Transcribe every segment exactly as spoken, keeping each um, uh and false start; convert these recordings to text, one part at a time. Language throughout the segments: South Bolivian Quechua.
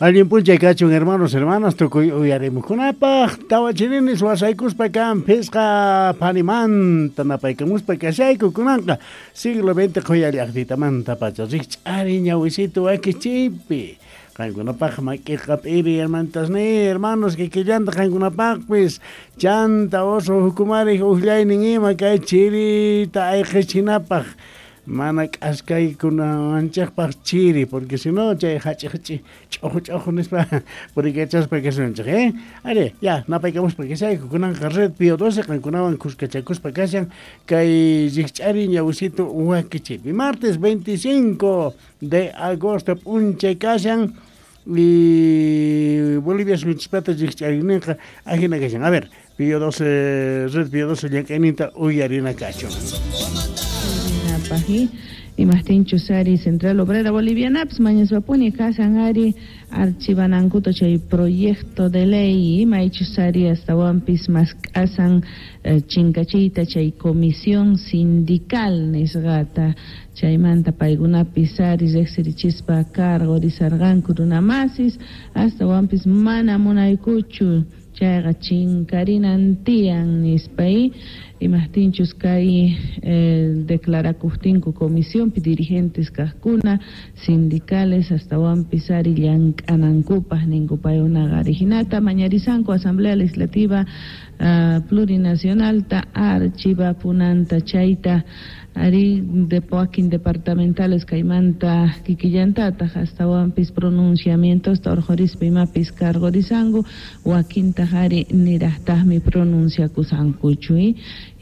Allin p'unchay kachun, hermanos, hermanas, tukuy uyarimuqkunapaq. Tawa chirinis wasaykuspa kan phisqa phanimanta napaykamuspa kashayku kunanqa siglo veinte qhuya llaqtitamanta pacha rikch'ari ñawisitu wakichiypi. Qankunapaq mak'iqa p'iri, hermanitas ni hermanos, kikillanta qankunapaqpis chanta oso hukumarik uqllaynin ima kay chirita ayqichinapaq mana k'askaykunawanchikpaq chiri, porque si no chay hach'i hach'i ch'uju ch'uju nispa purikachaspa kasunchik, eh ari ya napaykamuspa kashayku kunanqa Red Pío doce qankunawan kuskachakuspa kashan kay rikch'ari ñawisitu wakichiypi. Martes veinticinco de agosto p'unchay kashan y Bolivia suyunchispata rikch'ariyninqa ajina kashan. A ver, Pío doce, Red Pío doce llank'ayninta uyarina kachun. Paji imajtinchus ari Central Obrera Bolivianapis mañaspapuni kashan ari archivanankuta chay proyecto de ley maychus ari astawanpis mask'asan eh, chinkachiyta chay comisión sindical nisqata. Chaymanta paykunapis ari riqsirichispa cargorisarqanku runamasis, astawanpis mana munaykuchu chayqa chinkarinan tiyan nispa. Imajtinchus kay eh, declarakujtinku comisiónpi dirigentes kajkuna sindicales astawanpis ari llank'anankupaj ninku paykunaqa ari hinata mañarisanku Asamblea Legislativa uh, Plurinacionalta archivapunanta chayta ari de wakin departamentales kaymanta kikillantataq astawanpis pronunciamientosta urqhurispa imapis cargorisanku, wakintaq ari niraqtaqmi pronunciakusankuchu.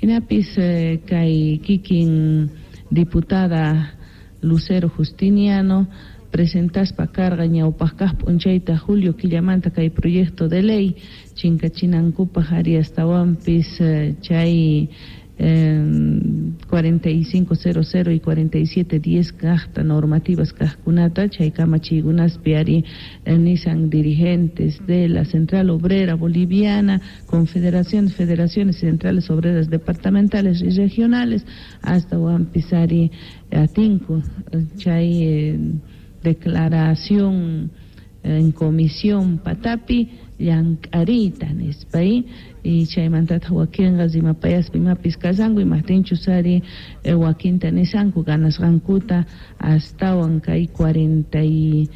Hinapis eh, kay kikin diputada Lucero Justiniano presentaspa carga ñawpaq kaq p'unchayta julio killamanta kay proyecto de ley chinkachinankupaq ari astawanpis eh, chay eh, cuarenta y cinco cero cero y cuarenta y siete diez kaqta normativas kaqkunata chay kamachiykunaspi ari eh, nisan dirigentes de la Central Obrera Boliviana, confederaciones, federaciones centrales obreras departamentales y regionales, astawanpis ari atinku chay eh, declaración en comisión patapi llank'ariyta nispa. Y chaymantataq wakinqa rimapayaspa imapis kashanku imajtinchus ari eh, wakinta nisanku ganasqankuta astawan kay cuarenta y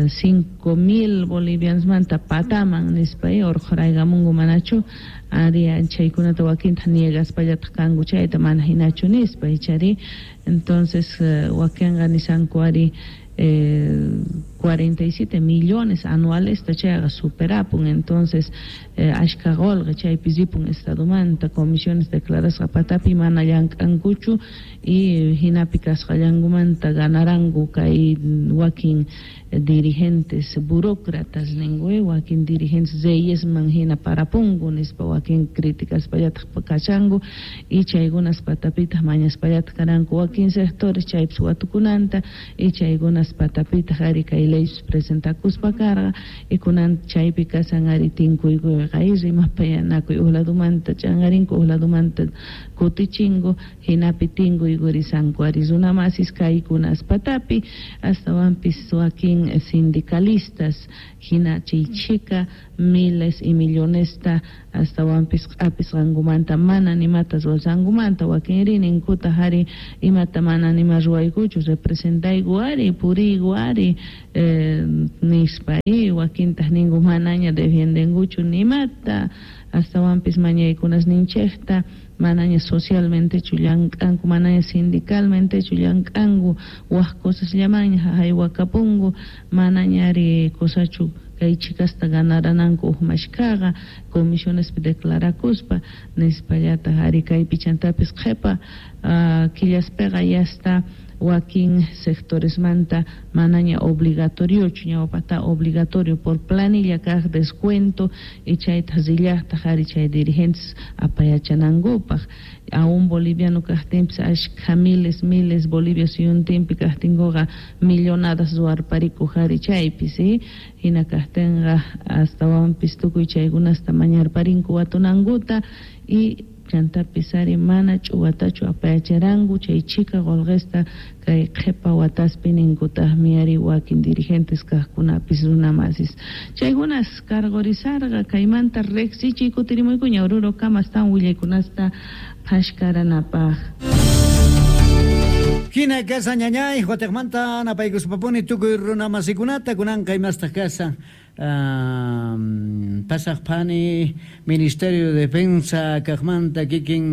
cinco mil bolivianosmanta pataman nispa urqhuraykamunku manachu ari chaykunata wakinta niegaspallataq kanku chayta mana hinachu nispa ichari. Entonces eh, wakinqa nisanku ari eh, cuarenta y siete millones anuales chayqa superapun, entonces eh, ashka qolqe chaypi ripun estadomanta comisiones declarasqa patapi mana llank'ankuchu y hinapi kasqallankumanta ganaranku kay wakin dirigentes burócratas ninku, wakin dirigentes reyesman hina parapunku nispa wakin críticaspallataq kashanku. Y chaykunas patapitaq mañaspallataq karanku wakin sectores chaypis watukunanta y chaykunas patapitaq ari kay leyes presentakuspa karqa y kunan chaypi kashan ari tinkuykuyqa y rimapayanakuy uj ladumanta ch'anqarinku uj ladumanta kutichinku hinapi tinkuykurisanku ari runamasis kaykunas patapi astawanpis wakin sindicalistas hina chay chhika miles y millonesta astawanpis q'apisqankumanta mana nimata ruwasqankumanta wakinri ninkutaq ari imata mana nima ruwaykuchu, representayku ari puriyku ari eh, nispa y wakintaq ninku manaña defiendenkuchu nimata astawanpis mañaykunasninchikta manaña socialmentechu llank'anku, manaña sindicalmentechu llank'anku, wak cosasllamanña haywakapunku, manaña ari cosachu kay chhikasta ganarananku uj mashkhaqa comisionespi declarakuspa nispallataq ari kaypi chantapis qhipa uh, killaspiqa yasta wakin sectoresmanta manaña obligatoriochu, ñawpata obligatorio por planilla kaq descuento y chayta rillaqtaq ari chay dirigentes apayachanankupaq aún boliviano kaqtinpis ashkha miles miles Bolivia suyuntinpi kaqtinkuqa millonadas ruwarparikuq ari chaypi si hina kaqtinqa astawanpis tukuy chaykunasta mañarparinku watunankuta y Chantapis ari mana ch'uwatachu apayacharanku chay chhika qolqesta kay qhepa wataspi ninkutaqmi ari wakin dirigentes kaqkunapis runamasis. Chaykunas cargorizarqa kaymanta riqsichiy kutirimuykuña Oruro kamastan willaykunasta phashkaranapaq. Hina kasa ñañay, Huategmanta napaykuspapuni tukuy runamasikunata kunanqa imastaq kasa. Um, pasaq phani Ministerio de Defensa kaqmanta kikin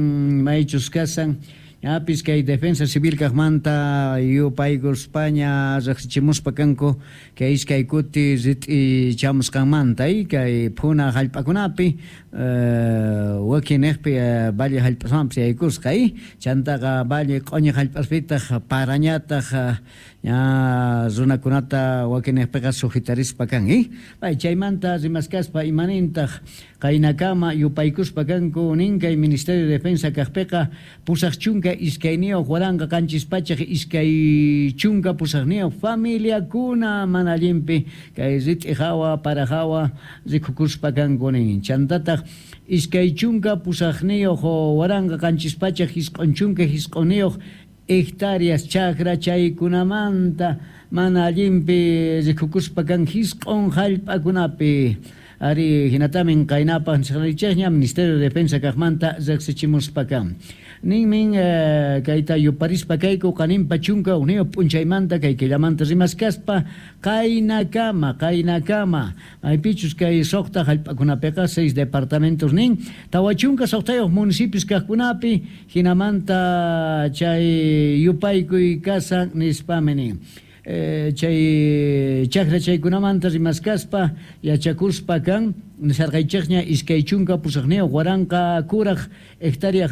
maychus kasan ñapis kay Defensa Civil kaqmanta yupaykuspaña riqsichimuspa kanku kay iskay kuti rit'i chamusqanmanta kay phuna hallp'akunapi uh, wakinniqpi uh, valle hallp'asmanpis yaykusqa chantaqa valle q'uñi hallp'aspitaq parañataq uh, ña runakunata wakinniqpiqa sujetarispa kan eh? Pay chaymanta rimaskaspa imanintaq qaynakama yupaykuspa kanku nin kay Ministerio de Defensa kaqpiqa pusaq chunka iskayniyuq waranqa qanchis pachaq iskay chunka pusaqniyuq familiakuna mana allinpi kay rit'i hawa para hawa rikukuspa kanku nin chantataq iskay chunka pusaqniyuq waranqa qanchis pachaq isq'un chunka isq'unniyuq hectáreas chakra chaykunamanta mana allinpi rikukuspa kan isq'un hallp'akunapi ari hinatamin qaynapaq nisqanchikña Ministerio de Defensa kaqmanta riqsichimuspa kan ninmin eh, kayta yuparispa kayku qaninpa chunka uniyuq p'unchaymanta kay killamanta rimaskaspa qaynakama qaynakama maypichus kay suqta hallp'akunapiqa seis departamentos nin tawa chunka suqtayuq municipios kaqkunapi hinamanta chay yupaykuy kasan nispami nin. Eh, chay chakra chaykunamanta rimaskaspa yachakuspa kan nisarqaychikña iskay chunka pusaqniyuq waranqa kuraq hectárea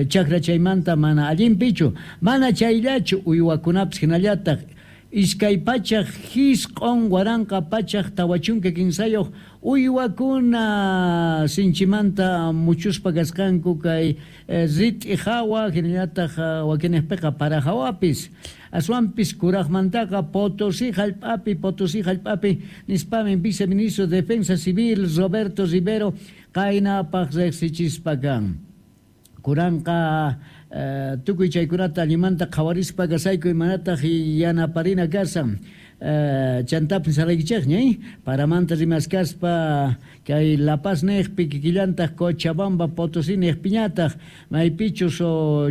chakra chaymanta mana allinpichu mana chayllachu uywakunapis hinallataq iskay pachaq hisq'un waranqa pachaq tawa chunka kinsayuq uywakuna sinchimanta muchuspa kasqanku kay rit'i hawa hinallataq wakinniqpiqa para hawapis aswanpis kuraqmantaqa Potosí hallp'api Potosí hallp'api nispami viceministro de Defensa Civil Roberto Rivero qaynapaq riqsichispa kan kuranqa Uh, tukuy chaykunata allimanta qhawarispa kasayku imanataq yanaparina kasan uh, chantapis nisaraykichikña eh? Paramanta rimaskaspa kay La Paz niqpi kikillantaq Cochabamba Potosí niqpiñataq maypichus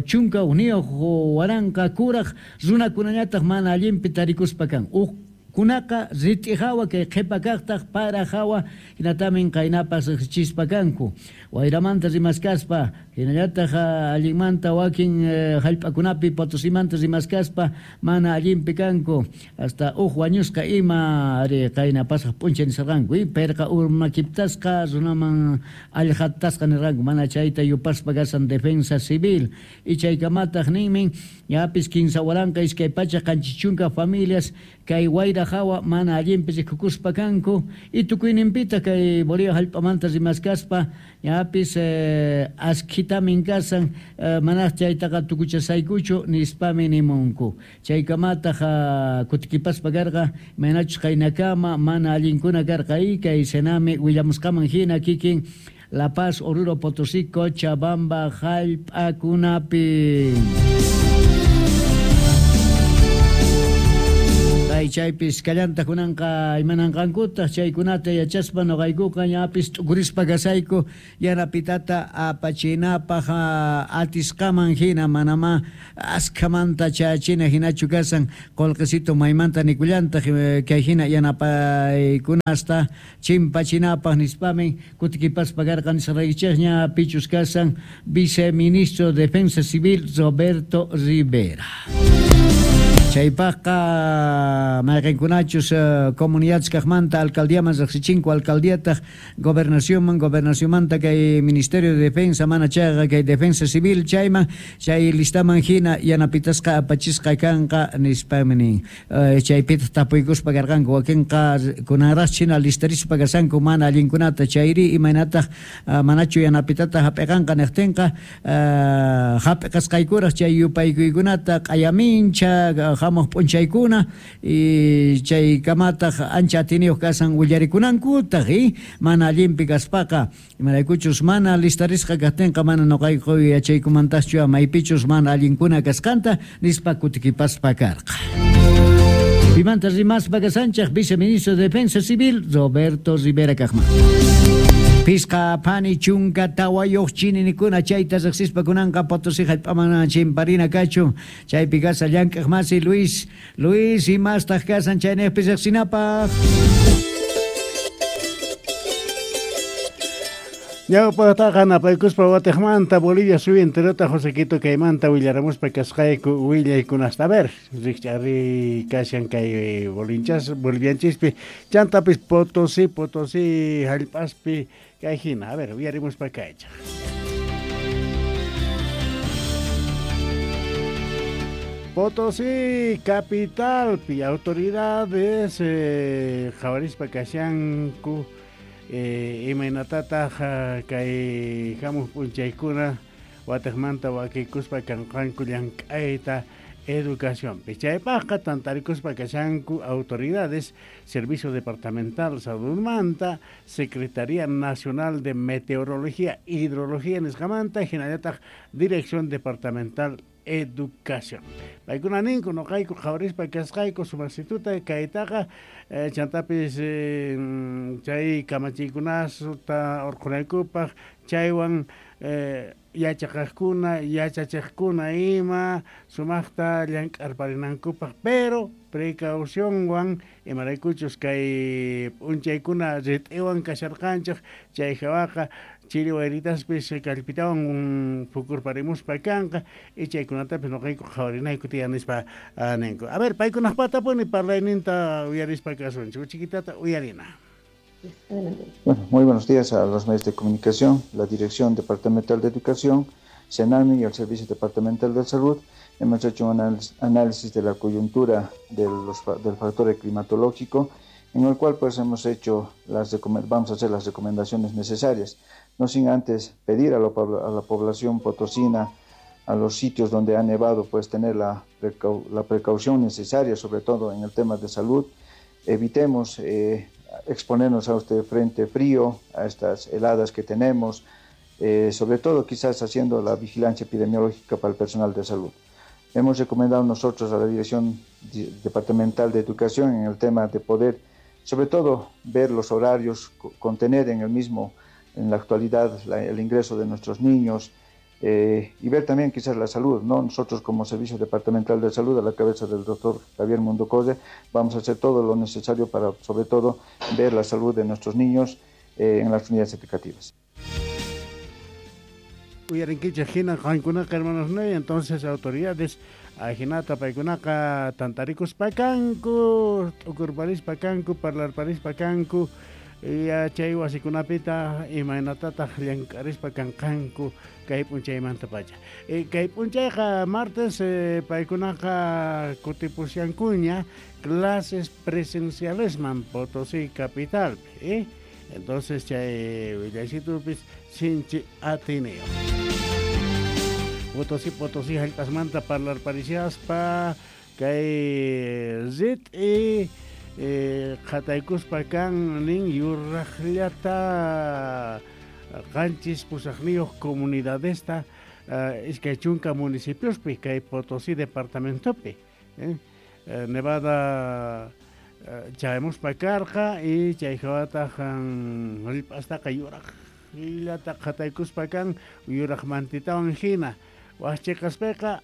chunka uniyuq waranqa kuraq runakunañataq mana allinpi tarikuspa kan uq kunaqa rit'i hawa kay qhipa kaqtaq para hawa hinatamin qaynapas riqsichispa kanku wayramanta rimaskaspa hinallataq allinmanta wakin hallp'akunapi Potosimanta rimaskaspa mana allinpi kanku hasta uq wañusqa ima ari qayna pasaq p'unchay nisarqanku pirqa urmakiptasqa runaman allqatasqa nirqanku mana chayta yupaspa kasan Defensa Civil y chaykamataq ninmin ñapis kinsa waranqa iskay pachaq qanchis chunka familias kay wayra hawa mana allinpi rikukuspa kanku y tukuyninpita kay Bolivia hallp'amanta rimaskaspa ñapis eh, askitamin kasan eh, manaq chaytaqa tukuchasaykuchu nispami nimunku chaykamataq kutikipaspa karqa imaynachus qaynakama mana allinkuna karqa y kay Senami willamusqaman hina kikin La Paz, Oruro, Potosí, Cochabamba hallp'akunapi. Chaypis kallanta kunanqa imananqankutaq chaykunata yachaspa nuqaykuqa ñapis t'ukurispa kasayku yanapitata apachinapaq atisqaman hina manama askhamanta chayachina hinachu kasan qullqisito maymanta nikullantaq kay hina yanapaykunasta chimpachinapaq nispamin kutikipaspa karqa nisaraykichikña pichus kasan viceministro de Defensa Civil Roberto Rivera. Chaypaqqa mayqinkunachus uh, comunidades kaqmanta alcaldiaman riqsichinku alcaldiataq gobernacionman gobernacionmanta kay Ministerio de Defensa mana chayqa kay Defensa Civil chayman chay listaman hina yanapitasqa apachisqa kanqa nispami nin uh, chaypitaq tapuykuspa karqanku wakinqa kunanraq china listarispa kasanku mana allinkunata chayri imaynataq uh, manachu yanapitata hap'iqanqa niqtinqa uh, hap'iqasqaykuraq chay yupaykuykunata q'ayamincha Hamuq p'unchaykuna y chay kamataq ancha atiniyuq kasan willarikunankutaq y mana allinpi kaspaqa imaraykuchus mana listarisqa kaqtinqa mana nuqayku yachaykumantaschu maypichus mana allinkuna kasqanta nispa kutikipaspa karqa. Pimanta rimaspa kasanchaq viceministro de Defensa Civil Roberto Rivera kaqman. Pisqa phani chunka tawayuq chininikuna chayta riqsispa kunanqa Potosí hallp'aman chimparina kachun chaypi kasa llank'aq masi Luis Luis imastaq kasan chaynejpi riqsinapaq. Ñawpaqtaqa napaykuspa watiqmanta Bolivia suyu enterota Josequito kaymanta willaramuspa kasqayku willaykunasta. A ver, rikch'ari kashan kay bolinchas bolivianchispi chantapis Potosí Potosí hallp'aspi kay hina. A ver, willarimuspa kaychaq. Potosí capitalpi autoridades eh, qhawarispa kashanku Eh, imaynatataq kay hamuq p'unchaykuna watiqmanta wakikuspa kanqanku llank'ayta educacionpi. Chaypaqqa tantarikuspa kashanku autoridades, Servicio Departamental Saludmanta, Secretaría Nacional de Meteorología, Hidrología nisqamanta, hinallataq Dirección Departamental Educación. Paykuna ninku noqayku qhawarispa kasqayku sumasituta kaytaqa eh, chantapis eh, chay kamachiykunata urqunaykupaq chaywan eh, yachaqaqkuna yachachiqkuna ima sumaqta llank'arparinankupaq, pero precaucionwan imaraykuchus kay p'unchaykuna rit'iwan kasharqanchik chay hawaqa chiri wayritaspis kallpitawan phukurparimuspa kanqa y chaykunatapis noqayku qhawarinayku tiyan nispa ninku. A ver, paykunaqpatapuni parlayninta uyarispa kasunchik, chiquitata uyarina. Bueno, muy buenos días a los medios de comunicación, la Dirección Departamental de Educación, SENAMI y el Servicio Departamental de Salud. Hemos hecho un análisis de la coyuntura de los, del factor climatológico, en el cual pues hemos hecho las vamos a hacer las recomendaciones necesarias, no sin antes pedir a la, a la población potosina, a los sitios donde ha nevado, pues tener la, precau la precaución necesaria, sobre todo en el tema de salud. Evitemos eh, exponernos a este frente frío, a estas heladas que tenemos, eh, sobre todo quizás haciendo la vigilancia epidemiológica para el personal de salud. Hemos recomendado nosotros a la Dirección Departamental de Educación en el tema de poder, sobre todo, ver los horarios, contener en el mismo, en la actualidad, la, el ingreso de nuestros niños, eh, y ver también quizás la salud, ¿no? Nosotros como Servicio Departamental de Salud, a la cabeza del doctor Javier Munducolle, vamos a hacer todo lo necesario para, sobre todo, ver la salud de nuestros niños eh, en las unidades educativas. Uyarinkichik hina qankunaqa hermanos no, entonces autoridades ajinata paykunaqa tantarikuspa kanku, t'ukurparispa kanku, parlarparispa kanku, yachay wasikunapita imaynatataq llank'arispa kanqanku kay p'unchaymanta pacha. E, kay p'unchayqa martes eh, paykunaqa kutipusyankuña clases presencialesman Potosí capitalpi, eh? Entonces chay willaysitupis sinchi atineo. Potosí Potosí hallp'asmanta parlarparishaspa kay rit'i eh, qhataykuspa kan nin yuraqllata qanchis pusaqniyuq comunidadesta uh, iskay chunka municipiospi kay Potosí departamentopi, eh? Eh, Nevada chayamuspa karqa y chay hawataq hallp'astaqa yuraqllata qhataykuspa kan yuraq mantitawan hina waqchiqaspiqa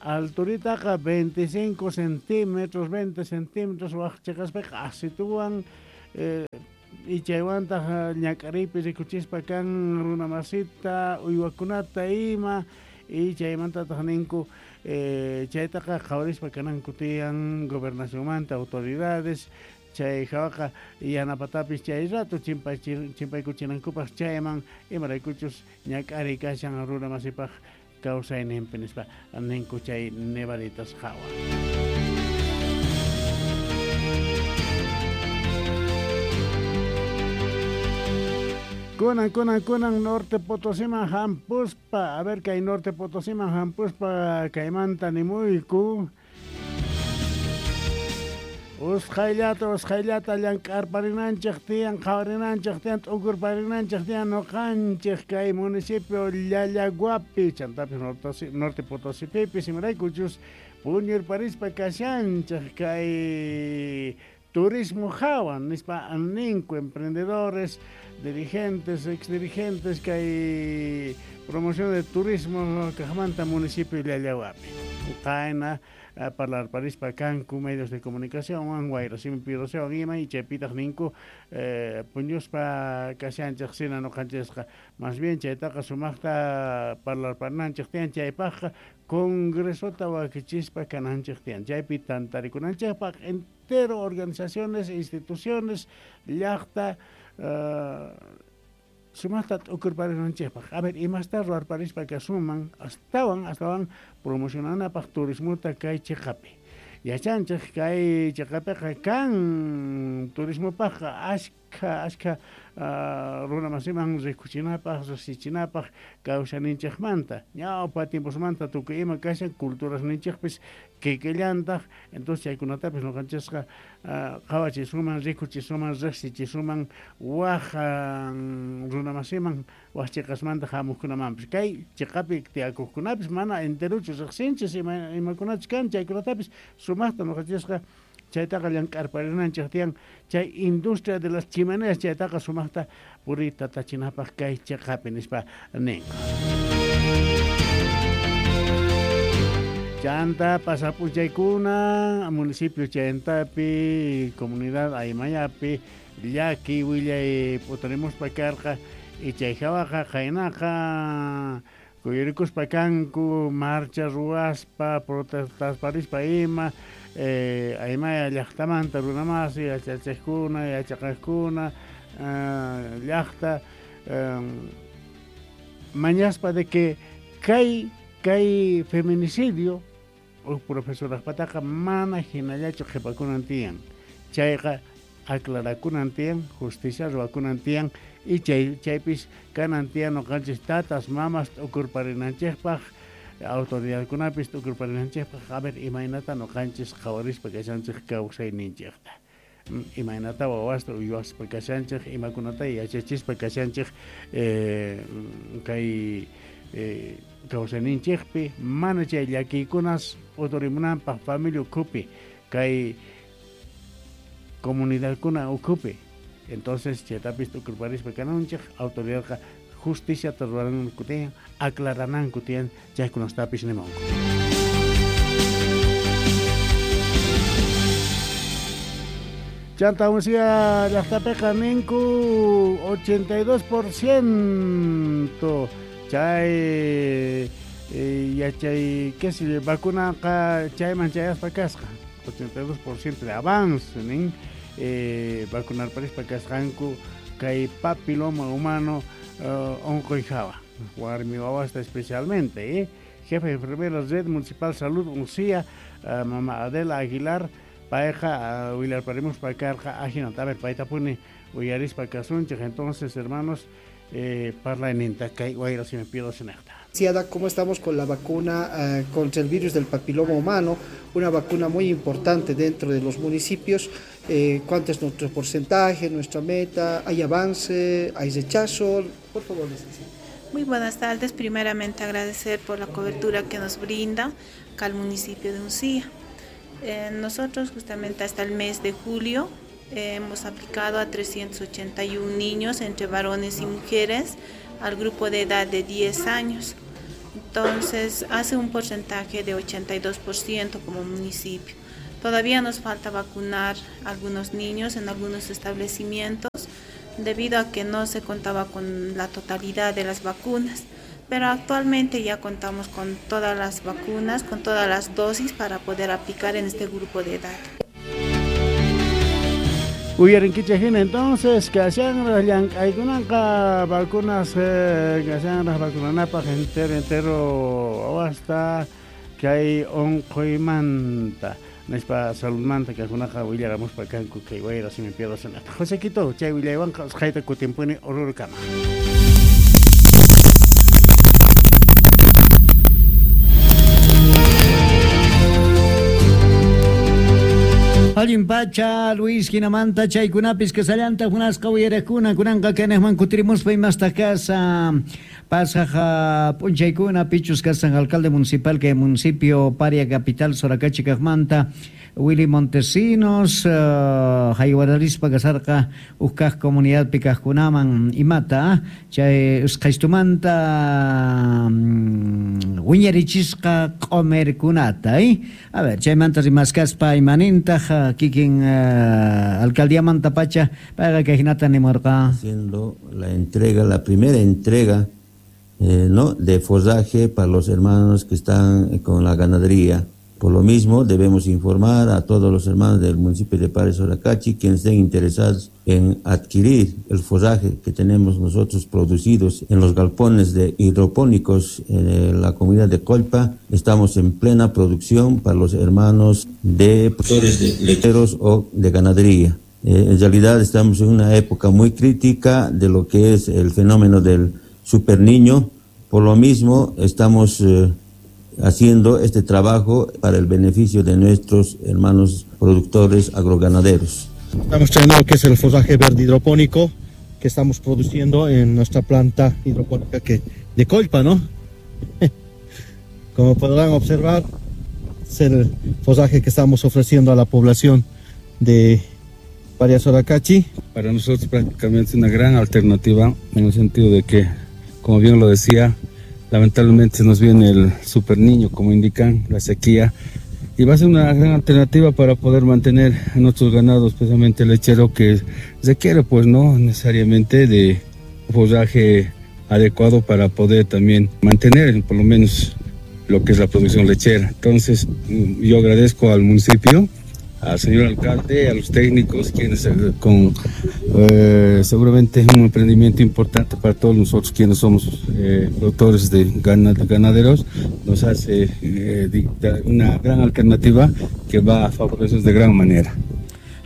alturitaqa veinticinco centímetros, veinte centímetros waqchiqaspiqa asituwan eh, y chaywantaq ñak'ariypi rikuchispa kan runa masita uywakunata ima y chaymantataq ninku eh, chaytaqa qhawarispa kananku tiyan gobernacionmanta autoridades chay hawaqa yanapatapis chay rato chimpaykuchinankupaq chayman imaraykuchus ñak'ariy kashan runa masipaq kawsayninpi nispa ninku chay nevaditas hawa. Kunan, kunan, kunan, Norte Potosiman hampuspa. A ver, kay Norte Potosiman hampuspa kaymanta nimuyku. Usqhayllata usqhayllata llank'arparinanchej tiyan, qhawarinanchej tiyan, t'ukurparinanchej tiyan noqanchej kay municipio Llallaguapi, chantapis norte, norte Potosipipis, imaraykuchus puñurparispa kashanchej kay turismo hawan, nispa ninku emprendedores, dirigentes, exdirigentes kay promoción de turismo kajmanta municipio Llallaguapi. Qayna parlarparispa kanku medios de comunicación, wayrasimi piroseo ima y chaypitaq ninku eh, puñuspa kashanchej sina noqanchesqa, más bien chaytaqa sumaqta parlarparinanchej tiyan, chaypaqqa congresota wakichispa kananchej tiyan, chaypi tantarikunanchejpaq entero organizaciones, instituciones, llaqta uh, sumaqta t'ukurparinanchejpaq. A ver, imasta ruwarparispa kasuman astawan astawan promocionanapaq turismota kay chiqapi. Yachanchej kay chiqapiqa kan turismopaqqa ashkha ashkha uh, runamasiman rikuchinapaq, riqsichinapaq kawsaninchejmanta, ñawpa tiemposmanta tukuy ima kashan culturasninchejpis kikillantaq, entonces chaykunatapis noqanchesqa uh, qhawachisuman, rikuchisuman, riqsichisuman waj uh, runamasiman waj chiqasmanta hamuqkunamanpis. Kay chiqapi tiyakuqkunapis mana enteruchu riqsinchis ima imakunachus kan chaykunatapis sumaqta noqanchisqa chaytaqa llank'arparinanchej tiyan, chay industria de las chimeneas chaytaqa sumaqta puriyta tachinapaq kay chiqapi nispa ninku. Chanta pasap'unchaykuna municipio Chayantapi, comunidad Aymayapi, llaki willay p'utarimuspa karqa y chay hawaqa qaynaqa kuyurikuspa kanku marcha ruwaspa protestasparispa ima eh, Aymaya llaqtamanta runamasi yachachejkuna yachaqajkuna uh, llaqta um, mañaspa de que kay kay feminicidio uj profesorajpataqa mana hinallachu qhipakunan tiyan, chayqa aclarakunan tiyan, justicia ruwakunan tiyan y chay chaypis kanan tiyan noqanchis tatas mamas t'ukurparinanchejpaq autoridadkunapis t'ukurparinanchejpaq, a ver imaynata noqanchis qhawarispa kashanchej kawsayninchejta, imaynata wawasta uywaspa kashanchej, imakunata yachachispa kashanchej eh, kay eh, kawsayninchejpi mana chay llakiykunas p'uturimunanpaq familia ukhupi kay comunidadkuna ukhupi. Entonces chaytapis t'ukurparispa kananchej autoridadqa justiciata ruwananku tiyan, aclarananku tiyan chaykunastapis nimunku. Chanta Uncía llaqtapiqa ninku ochenta y dos por ciento chay eh, yachay qué si vacunaqa chayman chayaspa kasqa ochenta y dos por ciento de avance nin eh, vacunarparispa kasqanku kay papiloma humano uh, onqoy hawa warmi wawasta especialmente eh? Jefe de enfermera Red Municipal Salud Uncía uh, mama Adela Aguilar payqa uh, willarparimuspa karqa ajinata. A ver, paytapuni uyarispa kasunchej. Entonces, hermanos, eh, parlayninta kay wayra si me pierdo sinaqta. ¿Cómo estamos con la vacuna eh, contra el virus del papiloma humano? Una vacuna muy importante dentro de los municipios. Eh, ¿Cuánto es nuestro porcentaje, nuestra meta? ¿Hay avance? ¿Hay rechazo? Por favor, licenciada. Muy buenas tardes. Primeramente agradecer por la cobertura que nos brinda acá al municipio de Uncía. Eh, nosotros justamente hasta el mes de julio eh, hemos aplicado a trescientos ochenta y uno niños entre varones y mujeres al grupo de edad de diez años. Entonces hace un porcentaje de ochenta y dos por ciento como municipio. Todavía nos falta vacunar a algunos niños en algunos establecimientos debido a que no se contaba con la totalidad de las vacunas, pero actualmente ya contamos con todas las vacunas, con todas las dosis para poder aplicar en este grupo de edad. Uyarinkichej hina entonces kashanraj llank'aykunanqa vacunas eh, kashanraj vacunanapaq entero entero wawasta kay unquymanta nispa saludmanta kajkunaqa willaramuspa kanku kay wayra si me pierdo sanata. José Quito chay willaywanqa usqhayta kutinpuni Orurukama. Allin pacha Luis hinamanta chaykunapis kasallanta munasqa uyarakuna kunanqa kanaqman kutirimuspa imasta kasa pasaj p'unchaykuna pichus kasan alcalde municipal kay municipio Paria capital Soracachi kaqmanta Willy Montesinos uh, haywararispa kasarqa ukkaq comunidadpi kaqkunaman imata chay usqaystumanta um, wiñarichisqa q'umirkunata eh? A ver chaymanta rimaskaspa imanintaq kikin uh, alcaldiamanta pacha payqa kayhinata nimurqa haciendo la entrega, la primera entrega eh, no de forraje para los hermanos que están con la ganadería. Por lo mismo, debemos informar a todos los hermanos del municipio de Paria Soracachi quienes estén interesados en adquirir el forraje que tenemos nosotros producidos en los galpones de hidropónicos en la comunidad de Colpa. Estamos en plena producción para los hermanos de productores de lecheros o de ganadería. Eh, en realidad estamos en una época muy crítica de lo que es el fenómeno del superniño. Por lo mismo, estamos Eh, haciendo este trabajo para el beneficio de nuestros hermanos productores agroganaderos. Estamos trayendo lo que es el forraje verde hidropónico que estamos produciendo en nuestra planta hidropónica que, de Colpa, ¿no? Como podrán observar, es el forraje que estamos ofreciendo a la población de Paria Soracachi. Para nosotros prácticamente es una gran alternativa en el sentido de que, como bien lo decía, lamentablemente se nos viene el super niño, como indican, la sequía, y va a ser una gran alternativa para poder mantener a nuestros ganados, especialmente el lechero, que requiere, pues no necesariamente de forraje adecuado para poder también mantener por lo menos lo que es la producción lechera. Entonces yo agradezco al municipio, al señor alcalde, a los técnicos, quienes con eh, seguramente es un emprendimiento importante para todos nosotros quienes somos eh, productores de ganaderos, nos hace eh, una gran alternativa que va a favorecer de gran manera.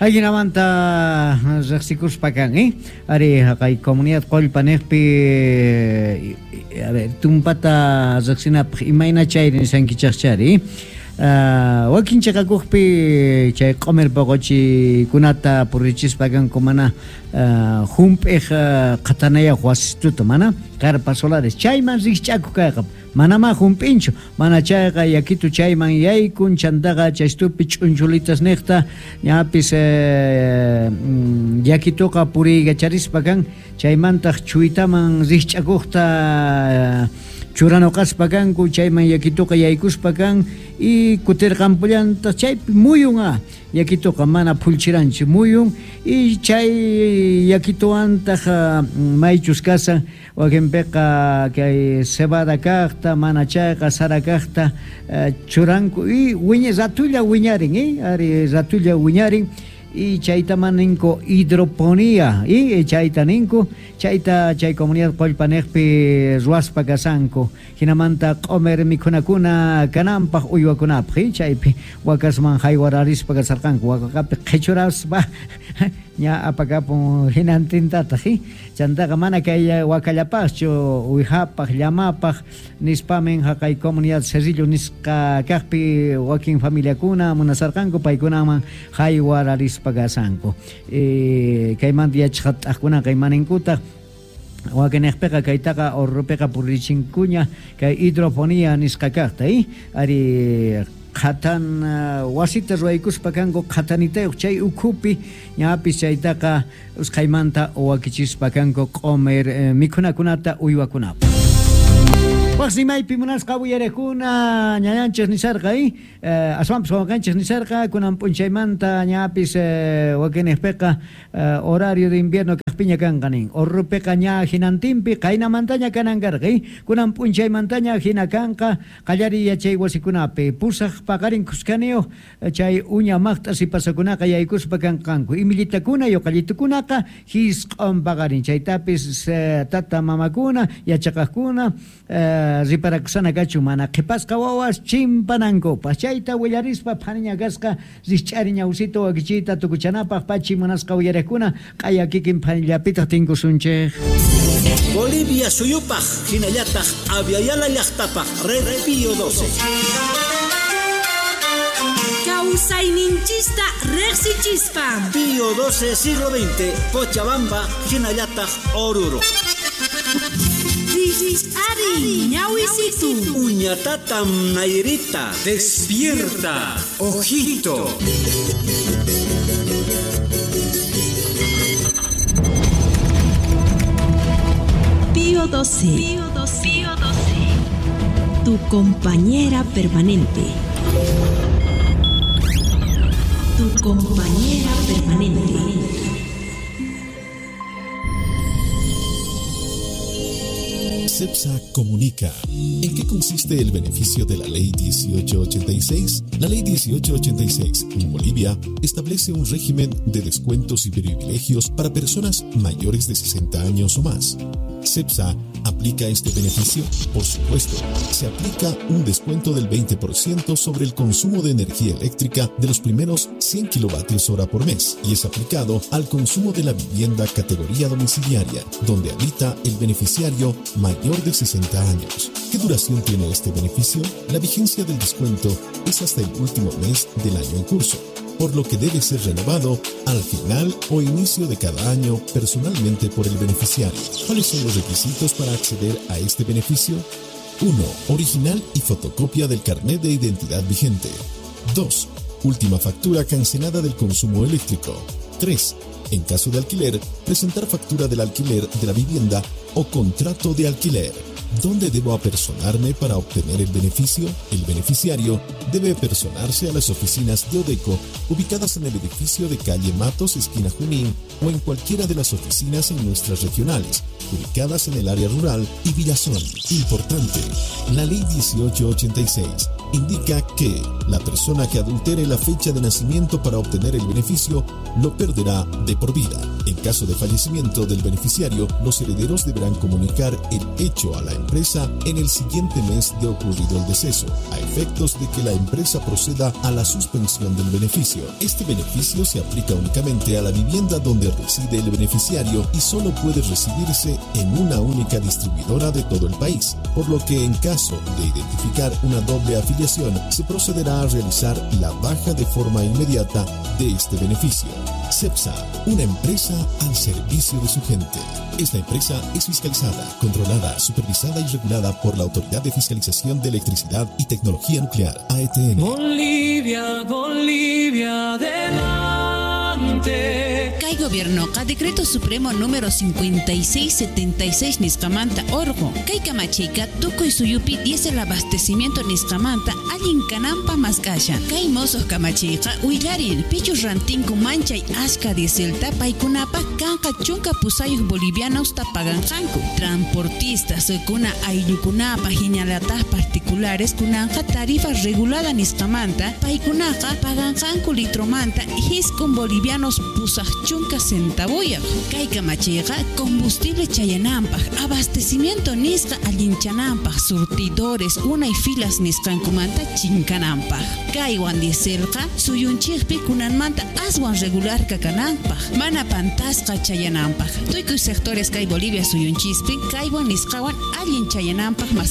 Ajinamanta riqsikuspa kan, eh? Ari haqay comunidad Qollpa niqpi, a ver, tumpata riqsinapaq imayna chayri nisankichaqchari. Uh, wakin chaqakuqpi chay q'umir poqochikunata purichispa kanku mana uh, hump'iq uh, qhatanayaq wasistuta mana carpa solares chayman rikch'akuq kayqa manamá hump'inchu mana chayqa yakitu chayman yaykun chantaqa chaystupi ch'unchulitas niqta ñapis eh, yakituqa puriykacharispa kan chaymantaq chuytaman rikch'akuqta churanuqaspa kanku chayman yakituqa yaykuspa kan y kutirqanpullantaq chaypi muyun a yakituqa mana phulchiranchu muyun y chay yakituwantaq maychus kasan wakinpiqa kay cebada kaqta mana chayqa sara kaqta churanku y wiña ratulla wiñarin eh ari ratulla wiñarin y chaytaman ninku hidroponía y chayta ninku chayta chay comunidad Qollpa niqpi ruwaspa kasanku hinamanta q'umir mikhunakuna kananpaq uywakunapaq y chaypi wakasman haywararispa kasarqanku wakaqapi qhichuraspa ña apakapun hinantintataq y chantaqa mana kay wakallapaqchu uwijapaq llamapaq nispamin haqay comunidad Cerrillo nisqa kaqpi wakin familiakuna munasarqanku paykunaman haywararispa kasanku eh, kaymanta yachaqat'aqkunaqa imaninkutaq wakinniqpiqa kaytaqa urrupiqa purichinkuña kay hidroponía nisqa kaqta eh? Ari qhatan uh, wasita ruwaykuspa kanku qhatanitayuq chay ukhupi ñapis chaytaqa usqhaymanta wakichispa kanku q'umir eh, mikhunakunata uywakunapaq. Waqsimaypi munasqa uyariqkuna ñañanchis nisarqa eh? eh aswanpis wawanqanchis nisarqa kunan p'unchaymanta ñapis eh, wakinniqpiqa eh, horario de invierno kaqpiña kanqa nin urrupiqa ña hinantinpi qaynamantaña kanan karqa eh? Kunan p'unchaymantaña hina kanqa qallariy yachay wasikunapi pusaq paqarin khuskaniyuq chay uña maqt'a sipasakunaqa yaykuspa kanqanku imillitakuna yuqallitukunaqa hisq'un paqarin chaytapis eh, tata mamakuna yachaqaqkuna eh, riparakusana kachu mana qhipasqa wawas chimpanankupaq chayta willarispa phaniña kasqa rikch'ari ñawsita wakichiyta tukuchanapaq pachi munasqa uyariqkuna q'aya kikin phanillapitaq tinkusunchik. Bolivia suyupaq hinallataq Aviala llaqtapaq Red Pío doce. Kawsayninchista riqsichispa. Pío doce siglo veinte, Cochabamba, hinallataq Oruro. Ari, ñawisitu. Uñatatam Nairita. Despierta, ojito. Pío doce. Pío doce. Pío doce. Tu compañera permanente. Tu compañera permanente. CEPSA comunica. ¿En qué consiste el beneficio de la Ley dieciocho ochenta y seis? La Ley dieciocho ochenta y seis en Bolivia establece un régimen de descuentos y privilegios para personas mayores de sesenta años o más. ¿CEPSA aplica este beneficio? Por supuesto, se aplica un descuento del veinte por ciento sobre el consumo de energía eléctrica de los primeros cien kilovatios hora por mes y es aplicado al consumo de la vivienda categoría domiciliaria, donde habita el beneficiario mayor de sesenta años. ¿Qué duración tiene este beneficio? La vigencia del descuento es hasta el último mes del año en curso, por lo que debe ser renovado al final o inicio de cada año personalmente por el beneficiario. ¿Cuáles son los requisitos para acceder a este beneficio? uno. Original y fotocopia del carnet de identidad vigente. dos. Última factura cancelada del consumo eléctrico. tres. En caso de alquiler, presentar factura del alquiler de la vivienda o contrato de alquiler. ¿Dónde debo apersonarme para obtener el beneficio? El beneficiario debe apersonarse a las oficinas de Odeco ubicadas en el edificio de calle Matos, esquina Junín, o en cualquiera de las oficinas en nuestras regionales, ubicadas en el área rural y Villazón. Importante, la Ley dieciocho ochenta y seis indica que la persona que adultere la fecha de nacimiento para obtener el beneficio lo perderá de por vida. En caso de fallecimiento del beneficiario, los herederos deberán comunicar el hecho a la empresa en el siguiente mes de ocurrido el deceso, a efectos de que la empresa proceda a la suspensión del beneficio. Este beneficio se aplica únicamente a la vivienda donde reside el beneficiario y solo puede recibirse en una única distribuidora de todo el país, por lo que en caso de identificar una doble afiliación, se procederá a realizar la baja de forma inmediata de este beneficio. CEPSA, una empresa al servicio de su gente. Esta empresa es fiscalizada, controlada, supervisada y regulada por la Autoridad de Fiscalización de Electricidad y Tecnología Nuclear, A E T N. Bolivia, Bolivia, adelante. Kay gobiernoqa Decreto Supremo número cincuenta y seis setenta y seis nisqamanta orqo. Kay kamachiyqa tukuy suyupi diésel abastecimiento nisqamanta allin kananpa mask'ashan. Kay mosoq kamachiyqa willarin pichus rantinku manchay ashka dieselta paykunapaq kanqa chunka pusayuq bolivianosta paganqanku. Transportistas kuna ayllukunapaq hinalataq particulares kunanqa tarifa regulada nisqamanta paykunaqa paganqanku litromanta hiskun bolivianos pusaq chunka centavuyaq. Kay kamachiyqa combustible chayananpaq, abastecimiento nisqa allinchananpaq, surtidores unay filas nisqankumanta chinkananpaq. Kaywan dieselqa suyunchikpi kunanmanta aswan regular kakananpaq, mana pantasqa chayananpaq. Tukuy sectores kay Bolivia suyunchispi kaywan nisqawan allin chayananpaq mas